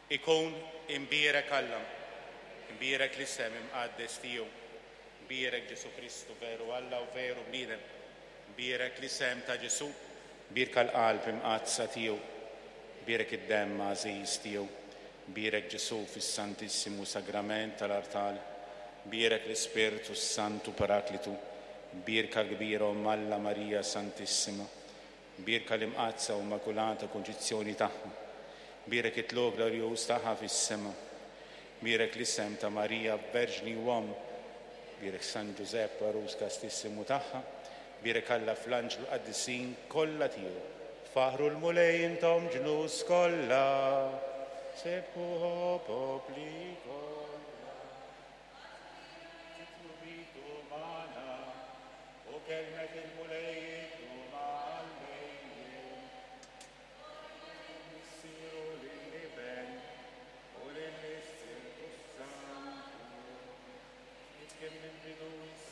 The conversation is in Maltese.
Ikun imbierek Alla, imbierek l-isem imqaddes tiegħu, imbierek Ġesù Kristu veru Alla u veru bniedem, imbierek l-isem ta' Ġesù, imbierka l-qalb imqaddsa tiegħu, imbierek id-demm għażiż tiegħu, imbierek Ġesù fis-Santissimu Sagrament tal-artal, imbierek l-Ispirtu s-Santu Paraklitu, imbierka l-kbira Omm Alla Marija Santissima, Bierka l-Imqaddsa u Immakulata Kunċizzjoni tagħha. Bierek it-tlugħ glorjuż tagħha fis-sema. Bierek l-isem ta' Marija Verġni u Omm. Bierek San Ġużepp għarus kastissimu tagħha. Bierek Alla fl-anġlu l-qaddisin kollha tiegħu. Faħħru l-Mulej intom ġnus kollha. Sebħuh o popli kollha. Titlubitu magħna. U kelmet il-Mulej iddum għal dejjem. Lill-Missier u lill-Iben u lill-Ispirtu s-Santu, kif kien mill-bidu issa.